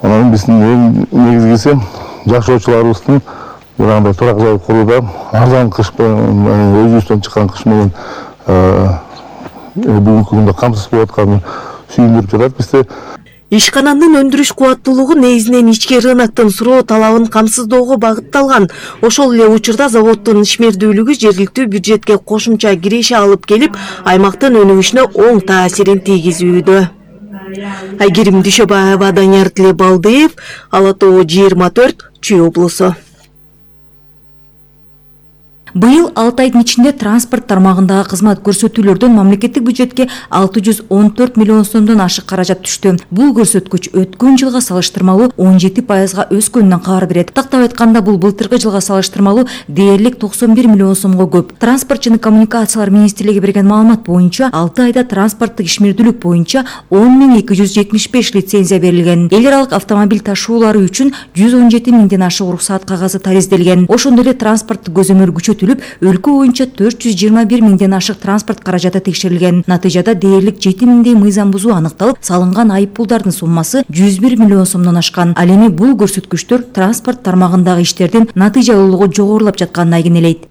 Анан биздин эң негизгиси жашоочуларыбыздын жанагындай турак жай курууда арзан кыш менен өзүбүздөн чыккан кыш менен бүгүнкү күндө камсыз болуп атканы сүйүндүрүп жатат бизди. Ишкананын өндүрүш кубаттуулугу негизинен ички рыноктун суроо талабын камсыздоого багытталган. Ошол эле учурда заводдун ишмердүүлүгү жергиликтүү бюджетке кошумча киреше алып келип, аймактын өнүгүшүнө оң таасирин тийгизүүдө. Айгерим Дүйшөбаева, Данияр Тилебалдиев, Ала Тоо 24, Чүй облусу. Быйыл 6 айдын ичинде транспорт тармагындагы кызмат көрсөтүүлөрдөн мамлекеттик бюджетке 614 миллион сомдон ашык каражат түштү. Бул көрсөткүч өткөн жылга салыштырмалуу 17%га өскөнүнөн кабар берет. Тактап айтканда, бул былтыркы жылга салыштырмалуу дээрлик 91 миллион сомго көп. Транспорт жана коммуникациялар министрлиги берген маалымат боюнча, 6 айда транспорттук ишмердүүлүк боюнча 10.275 лицензия берилген. Эл аралык автомобиль ташуулары үчүн 117 миңден ашык уруксаат кагазы таризделген. Ошондой эле транспорттук көзөмөл өлкө боюнча 421 миңден ашык транспорт каражаты текшерилген. Натыйжада дээрлик 7 миңдей мыйзам бузуу аныкталып, салынган айыппулдардын суммасы 101 миллион сомдон ашкан. Ал эми бул көрсөткүчтөр транспорт тармагындагы иштердин натыйжалуулугу жогорулап жатканын айгинелейт.